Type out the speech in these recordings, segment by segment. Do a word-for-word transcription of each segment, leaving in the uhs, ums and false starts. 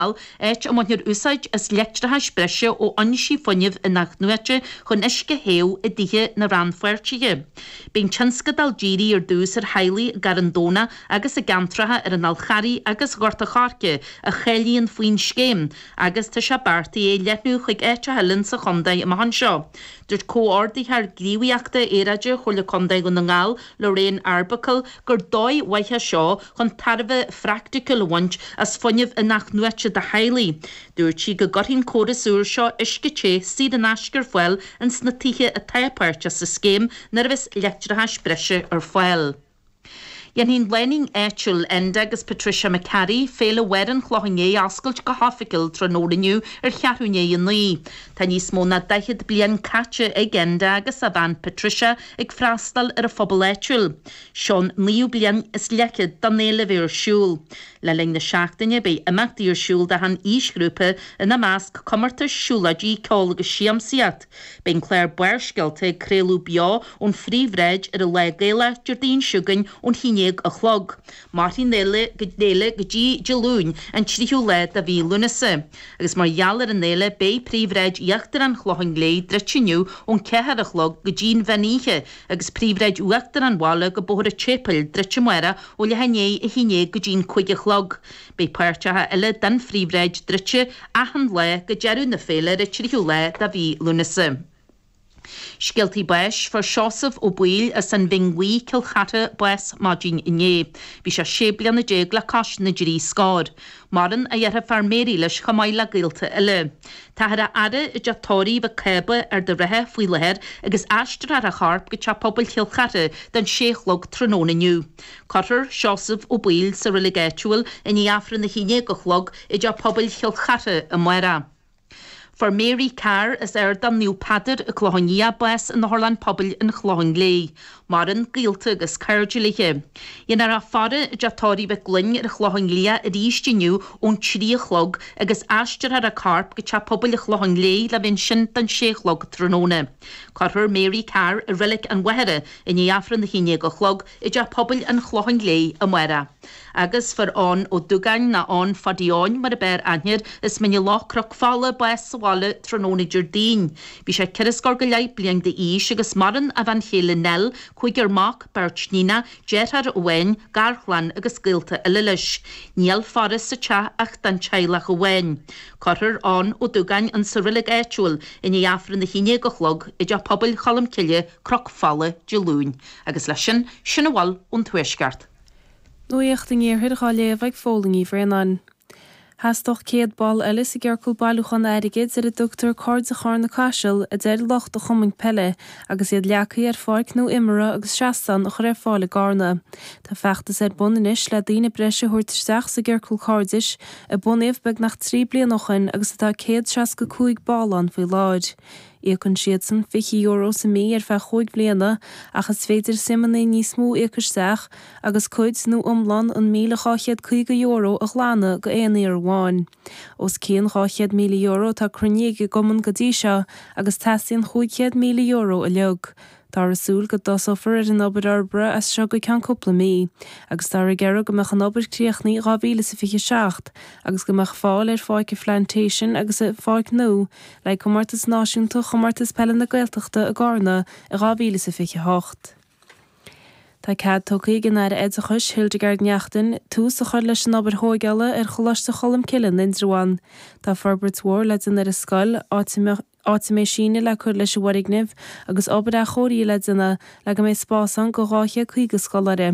Áit a mbainfear úsáid as leictreachas breise ó fhoinsí fuinnimh in-athnuaite chun uisce a théamh i dtithe na rannpháirtithe. Beidh an tionscadal dírithe ar dtús ar theaghlaigh i gCarn Domhnach agus i gceantracha ar an Fhál Charraigh agus Ghort a' Choirce a cháilíonn faoin scéim agus tá sé beartaithe é a leathnú chuig áiteacha eile sa chontae amach anseo. Dúirt Comhordaitheoir Gníomhaíochta Aeráide Chomhairle Contae Dhún na nGall, Lorraine Arbuckle, gur dóigh mhaith é seo chun tairbhe phraiticiúil a bhaint as fuinneamh in-athnuaite do theaghlaigh. Dúirt sí go gcuirfidh an córas úr seo uisce te saor in aisce ar fáil ins na tithe atá páirteach sa scéim nuair a bheas leictreachas breise ar fáil. Dhéanfaidh an lánúin áitiúil Enda agus Patricia McCarry Féile Mháire an Chlocháin Léith a oscailt go hoifigiúil tráthnóna inniu ar cheathrú i ndiaidh a naoi. Tá níos mó ná daichead bliain caite ag Enda agus a bhean Patricia ag freastal ar an phobal áitiúil. Seo an naoú bliain is leathchéad don fhéile a bheith ar siúl. Le linn na seachtaine beidh imeachtaí ar siúl d'achan aoisghrúpa, ina measc comórtais, siúlóidí, ceol agus siamsaíocht. Beidh an clár Barrscéalta ag craoladh beo ón phríomhbhráid ar an Lá Gaelach Déardaoin seo chugainn ón haon déag a chlog. Mairfidh an fhéile go dtí Dé Luain, an tríú lá de mhí Lúnasa. Agus mar gheall ar an fhéile, beidh príomhbhráid íochtar an Chlocháin Léith druidte inniu ón ceathair a chlog go dtí an mheán oíche agus príomhbhráid uachtar an bhaile go Bóthar an tSéipéil druidte amárach ó leath i ndiaidh a haon déag go dtí an cúig a chlog. Beidh páirteacha eile den phríomhbhráid druidte achan lá go deireadh na féile ar an tríú lá de mhí Lúnasa. Scéaltaí báis, Fuair Seosamh Ó Baoill as an Bhinn Bhuí, Cill Chartha, bás maidin inné. Bhí sé sé bliana déag le cois na dtrí scór. Maireann a dheirfiúr Mary leis chomh maith le gaolta eile. Táthar á fhaire i dteach tórraimh Mhic Cába, Ard an Rátha, faoi láthair agus aistreofar a chorp go Teach Pobail Chill Chartha don sé a chlog tráthnóna inniu. Cuirfear Seosamh Ó Baoill sa reilig áitiúil i ndiaidh Aifreann a haon déag a chlog i dTeach Pobail Chill Chartha amárach. Fuair Mary Carr as Ardán Naomh Peadar i gClochán Liath bás in Otharlann Pobail an Chlocháin Léith. Maireann gaolta agus cairde léi. Dhéanfar a faire i dteach tórraimh Mhic Gloinn ar an Chlochán Liath arís inniu ón trí a chlog agus aistreofar a corp go Teach Pobail an Chlocháin Léith le bheith ansin don sé a chlog tráthnóna. Cuirfear Mary Carr i Reilig an Mhachaire i ndiaidh Aifreann a haon déag a chlog i dTeach Pobail an Chlocháin Léith amárach. Agus fuair Eoin Ó Dúgáin, nó Eoin Phadaí Eoin mar a b'fhearr aithne air, as Mín an Loch, Cnoc Fola, bás sa bhaile tráthnóna Déardaoin. Bhí sé ceithre scór go leith bliain d'aois agus maireann a bhean chéile Nell, cúigear mac, beirt níonach, deartháir amháin, garchlann agus gaolta eile leis. Níl faire sa teach ach don teaghlach amháin. Cuirfear Eoin Ó Dúgáin in sa reilig áitiúil i ndiaidh Aifreann a haon déag a chlog i dTeach Pobail Cholm Cille, Cnoc Fola, Dé Luain. Agus leis sin, sin a bhfuil ón Tuaisceart. Nuacht an Iarthair dhá léamh ag Fódhla Ní Bhraonáin. Theastódh céad ball eile sa gciorcal bailiúcháin airgid ar a dtugtar Cairde Charna Caiseal, a deir lucht an chumainn peile, agus iad leagtha ar pháirc nua imeartha agus seastán a chur ar fáil i gCarna. Tá feachtas ar bun anois le daoine breise a thabhairt isteach sa gciorcal cairdis, a bunaíodh beagnach trí bliana ó shoin agus atá céad seasca cúig ball ann faoi láthair. Íocann siadsan fiche euro sa mí ar feadh chúig bhliana ach is féidir suimeanna níos mó a íoc isteach agus cuid nó iomlán an míle dhá chéad caoga euro a ghlanadh go aon uair amháin. Os cionn dhá chéad míle euro atá cruinnithe ag an gcumann go dtí seo agus teastaíonn chúig chéad míle euro uilig. Táthar ag súil go dtosófar ar an obair fhorbartha as seo go ceann cúpla mí, agus táthar ag iarraidh go mbeadh an obair críochnaithe dhá mhíle is a fiche seacht agus go mbeadh fáil ar Pháirc an Phlantation agus an Pháirc Nua le Comórtas Náisiúnta Chomórtas Peile na Gaeltachta i gCarna i dhá mhíle is a fiche hocht. Tá cead tugtha ag an Aire Oideachais, Hildegarde Naughton, tús a chur leis an obair thóigeála ar Choláiste Cholmcille in Indreabhán. Tá forbairt mhór le déanamh ar an scoil, áit a mbeadh áit a mbeidh síneadh le cur leis an bhfoirgneamh agus obair athchóirithe le déanamh le go mbeidh spás ann go dhá chéad caoga scoláire.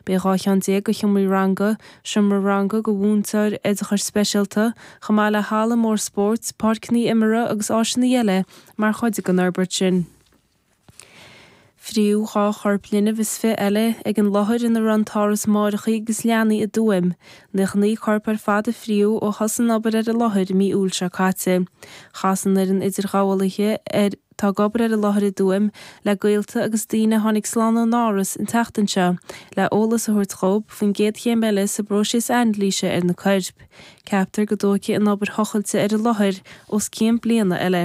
Beidh dhá cheann déag de sheomraí ranga, seomra ranga go mhúinteoir oideachais speisialta, chomh maith le halla mór spóirt, páirceanna imeartha agus áiseanna eile mar chuid den fhorbairt sin. Fríodh dhá chorp linbh is fiche eile ag an láthair ina raibh an t-áras máithreacha agus leanaí i dTuaim. Nócha naoi corp ar fad a fríodh ó thosaigh an obair ar an láthair i mí Iúil seo caite. Chas an fhoireann idirghabhálaithe ar atá ag obair ar an láthair i dTuaim le gaolta agus daoine a tháinig slán ón áras an tseachtain seo le eolas a thabhairt dhóibh faoin gcéad chéim eile sa bpróiseas anailíse ar na coirp. Ceaptar go dtógfaidh an obair thochailte ar an láthair os cionn bliana eile.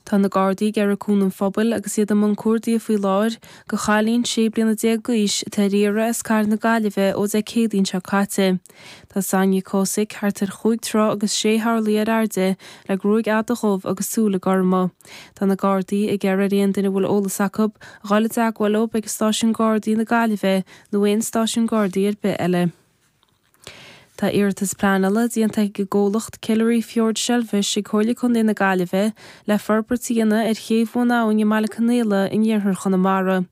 Tá na Gardaí ag iarraidh cúnamh an phobail agus iad i mbun cuardaigh faoi láthair do chailín sé bliana déag d'aois atá ar iarraidh as cathair na Gaillimhe ó Dé Céadaoin seo caite. Tá Sonia Kosick thart ar chúig troigh agus sé horlaí ar airde le gruaig fhada dhubh agus súile gorma. Tá na Gardaí ag iarraidh ar aon duine a bhfuil eolas acu a dhul i dteagmháil leo ag stáisiún Gardaí na Gaillimhe nó aon stáisiún Gardaí ar bith eile. Tá iarratas pleanála déanta ag an gcomhlacht Killary Fjord Shellfish ag Comhairle Contae na Gaillimhe le forbairt a dhéanamh ar chéibh Bhun Abhainn i mBaile Conaola in iarthar Chonamara.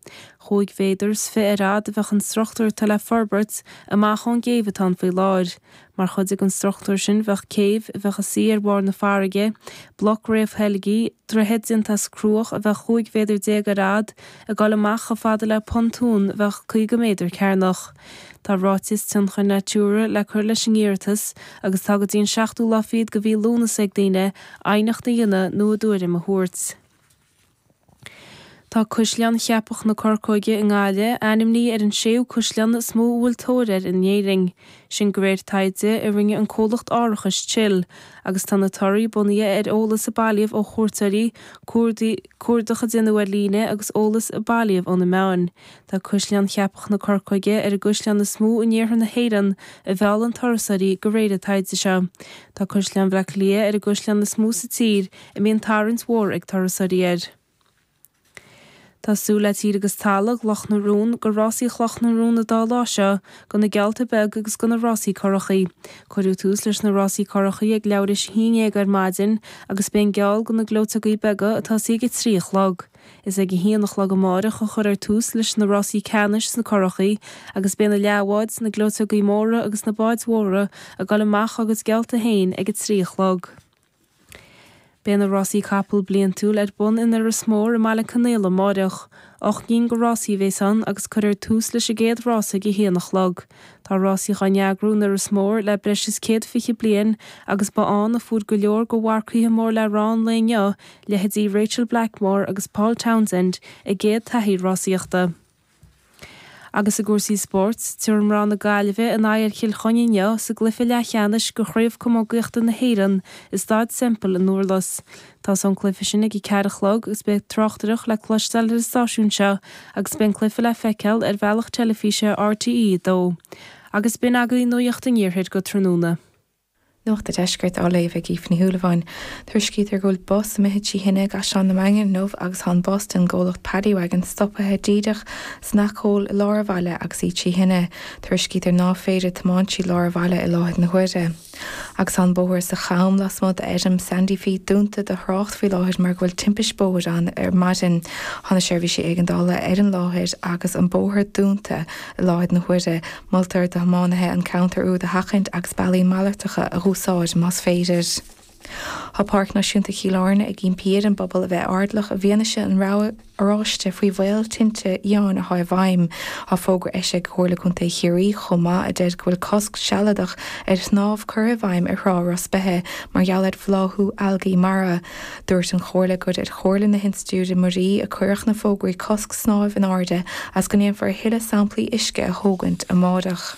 Chúig mhéadar is fiche ar fhad a bheadh an struchtúr atá le forbairt amach ón gcéibh atá ann faoi láthair. Mar chuid den struchtúr sin bheadh céibh a bheadh ina suí ar bharr na farraige, bloc réamhtheilgthe, droichead déanta as cruach a bheadh chúig mhéadar déag ar fhad, ag dul amach chomh fada le pontún a bheadh caoga méadar cearnach. Tá ráiteas tionchair Natura le cur leis an iarratas agus tá go dtí an seachtú lá fichead de mhí Lúnasa ag daoine aighneacht a dhéanamh nó a dtuairim a thabhairt. Tá Caisleán Cheapach na Corcóige i nGaillimh ainmnithe ar an séú caisleán is mó a bhfuil tóir air in Éirinn. Sin de réir taighde a rinne an comhlacht árachais Chill, agus tá na torthaí bunaithe ar eolas a bailíodh ó chuairteoirí, cuardach a déanadh ar líne agus eolas a bailíodh ó na meáin. Tá Caisleán Cheapach na Corcóige ar an gcaisleán is mó in iarthar na hÉireann a mheallann turasóirí de réir an taighde seo. Tá Caisleán Bhaile Átha Cliath ar an gcaisleán is mó sa tír a mbíonn tarraingt mhór ag turasóirí air. Tá súil le tír agus talamh Chloch na Rón do rásaí Chloch na Rón an dá lá seo, do na geallta beaga agus do na rásaí curachaí. Cuireadh tús leis na rásaí curachaí ag leathuair tar éis a haon déag ar maidin agus beidh an geall do na gleoiteogaí beaga ag tosaí ag a trí a chlog. Is ag a haon a chlog amárach a chuirfear tús leis na rásaí ceannais sna curachaí agus beidh na leathbháid, na gleoiteogaí móra agus na báid mhóra ag dul amach dá gcuid geallta féin ag a trí a chlog. Beidh na rásaí capall bliantúil ar bun in Iorras Mór i mBaile Conaola amárach. Ocht gcinn de rásaí a bheas ann agus cuirfear tús leis an gcéad rása ag a haon a chlog. Tá rásaí á n-eagrú in Iorras Mór le breis is céad fiche bliain agus ba ann a fuair go leor de mharcaithe mór le rá an lae inniu, leithéidí Rachel Blackmore agus Paul Townsend, a gcéad taithí rásaíochta. Agus i gcúrsaí spóirt, tabharfaidh mná na Gaillimhe a n-aghaidh ar Chill Chainnigh inniu sa gcluiche leathcheannais de Chraobh Camógaíochta na hÉireann i Staid Semple i nDurlas. Tosóidh an cluiche sin ag a ceathair a chlog agus beidh tráchtaireacht le cloisteáil ar an stáisiún seo agus beidh an cluiche le feiceáil ar bhealach teilifíse RTÉ a dó. Agus b'in agaibh nuacht an iarthair go tráthnóna. Nuacht an Deiscirt á léamh ag Aoife Ní Shúilleabháin. Tuairiscítear go bhfuil bus imithe trí thine i gCaisleán na Mainge inniu agus tá an bus den gcomhlacht Paddy Wagon stoptha díreach san acomhal i lár an bhaile agus í trí thine. Tuairiscítear ná féidir tiomáint trí lár an bhaile i láthair na huaire. Agus tá an bóthar sa Cham lasmuigh d'fheirm Sandy Feet dúnta do thrácht faoi láthair mar go bhfuil timpiste bóthair ann ar maidin. Tá na seirbhísí éigeandála ar an láthair agus an bóthar dúnta i láthair na huaire. Moltar do thiománaithe an ceantar úd a sheachaint agus bealaí malartacha a úsáid más féidir. Tá Páirc Náisiúnta Chill Airne ag impí ar an bpobal a bheith airdeallach i bhfianaise an rabhadh oráiste faoi bhaol tinte fhiáin atá i bhfeidhm. Tá fógra eisithe ag Comhairle Contae Chiarraí chomh maith a deir go bhfuil cosc sealadach ar shnámh curtha i bhfeidhm ar thrá Ros Beithe mar gheall ar bhláthú algaí mara. Dúirt an Chomhairle gur ar chomhairle na hInstitiúide Muirí a cuireadh na fógraí cosc snámh in airde agus go ndéanfar a thuilleadh samplaí uisce a thógaint amárach.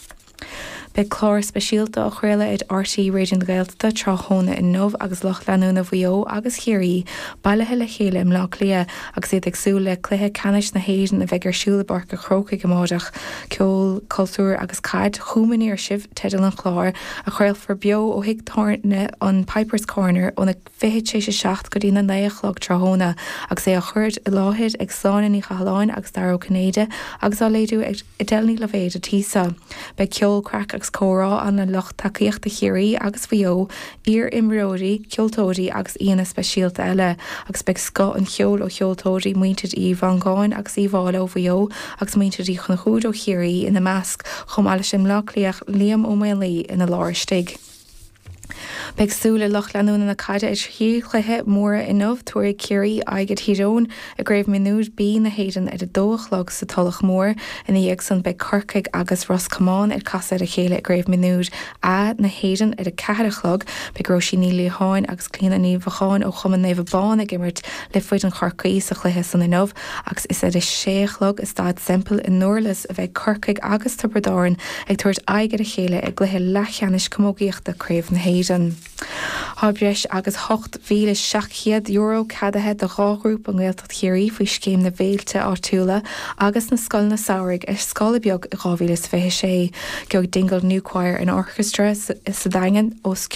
Beidh clár speisialta á chraoladh ar RTÉ Raidió na Gaeltachta tráthnóna inniu agus lucht leanúna Mhaigh Eo agus Chiarraí bailithe le chéile i mBleá Cliath agus iad ag súil le cluiche ceannais na hÉireann a bheidh ar siúl i bPáirc an Chrócaigh amárach. Ceol, cultúr agus caid chugam aniar sibh teideal an chláir a chraolfar beo ó thigh tábhairne an Piper's Corner óna fiche tar éis a seacht go dtí na naoi a chlog tráthnóna agus é á chur i láthair ag Sláine Ní Chathalláin agus Dara Ó Cinnéide agus á léiriú ag Edel Ní Loibhéad Tíosa. Beidh ceol, craic agus comhrá ann le lucht tacaíochta Chiarraí agus Mhaigh Eo, iar-imreoirí, ceoltóirí agus aíonna speisialta eile, agus beidh scoth an cheoil ó cheoltóirí muintir Uí Mhongáin agus Uí Mháille ó Mhaigh Eo agus muintir Uí Chonchúir ó Chiarraí ina measc, chomh maith leis an mBleá Cliathach Liam Ó Maonlaí ina lár istigh. Beidh súil ag lucht leanúna na caide ar thrí chluiche móra inniu. Tabharfaidh Ciarraí aghaidh ar Thír Eoghain i gCraobh Mionúir B na hÉireann ar a dó a chlog sa Tulach Mhór. Ina dhiaidh san beidh Corcaigh agus Ros Comáin ag casadh ar a chéile i gCraobh Mionúir A na hÉireann ar a ceathair a chlog. Beidh Róisín Ní Liatháin agus Clíona Ní Mhocháin ó Chumann Naomh Abán ag imirt le foireann Chorcaí sa chluiche san inniu agus is ar a sé a chlog i Staid Semple i nDurlas a bheidh Corcaigh agus Tiobraid Árann ag tabhairt aghaidh ar a chéile i gcluiche leathcheannais camógaíochta Craobh na hÉireann. Tá breis agus ocht mhíle seacht gcéad euro ceadaithe do dhá ghrúpa i nGaeltacht Chiarraí faoi scéim na bhféilte áitiúla agus na scoileanna samhraidh ar scála beag i dhá mhíle is fiche sé. Gheobhaidh Dingle New Choir and Orchestra sa Daingean os